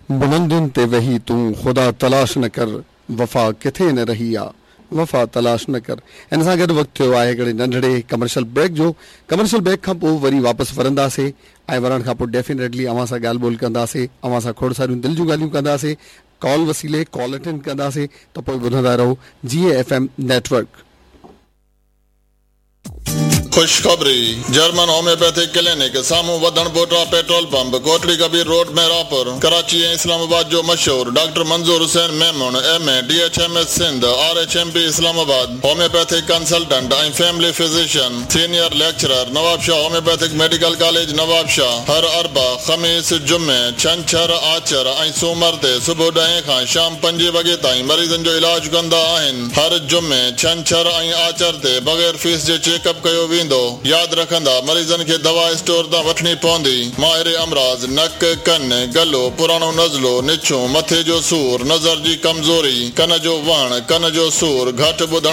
بلندين تي ويهي تون خدا تلاش نه ڪر، وفا ڪٿي نه رهي آ، وفا تلاش نه ڪر. ان سان گڏ وقت ٿيو آهي هڪڙي ننڍڙي ڪمرشل بريڪ جو. ڪمرشل بريڪ کان پوء وري واپس ورنداسي ۽ ورڻ کان پوء ڊيفينيٽلي اوهان سان ڳالهه ٻولهه ڪنداسي، اوهان سان کوڙ ساريون دل جون ڳالهيون ڪنداسي، ڪال وسيلي ڪال اٽينڊ ڪنداسي ته پوء ٻڌندا رهو جي اي ايف ايم نيٽورڪ. خوشخبري، جرمن هوميوپيٿڪ ڪلينڪ، سامهون Wadhan Pota petrol pump, Kotri Kabir road Mehrabpur, Karachi ۽ اسلام آباد جو مشهور doctor Manzoor Hussain Memon, M A, D H M S Sindh, R H M P Islamabad, homeopathic consultant ۽ family physician, senior lecturer, Nawabshah homeopathic medical college Nawabshah, هر اربع، خميس، جمعي، ڇنڇر، آچر ۽ سومر تي صبح ڏهين کان شام پنجين وڳي تائين مريضن جو علاج ڪندا آهن. هر جمعي، ڇنڇر ۽ آچر تي بغير فيس جي چيڪ اپ ڪيو ويندو. ياد رکندا، مريضن کي دوا اسٽور تان وٺڻي پوندي. ماهر امراض، نڪ، ڪن، گلو، پراڻو نزلو، نڇون، مٿي جو سور، نظر جي ڪمزوري، ڪن جو وهڻ، ڪن جو سور، گهٽ ٻڌڻ.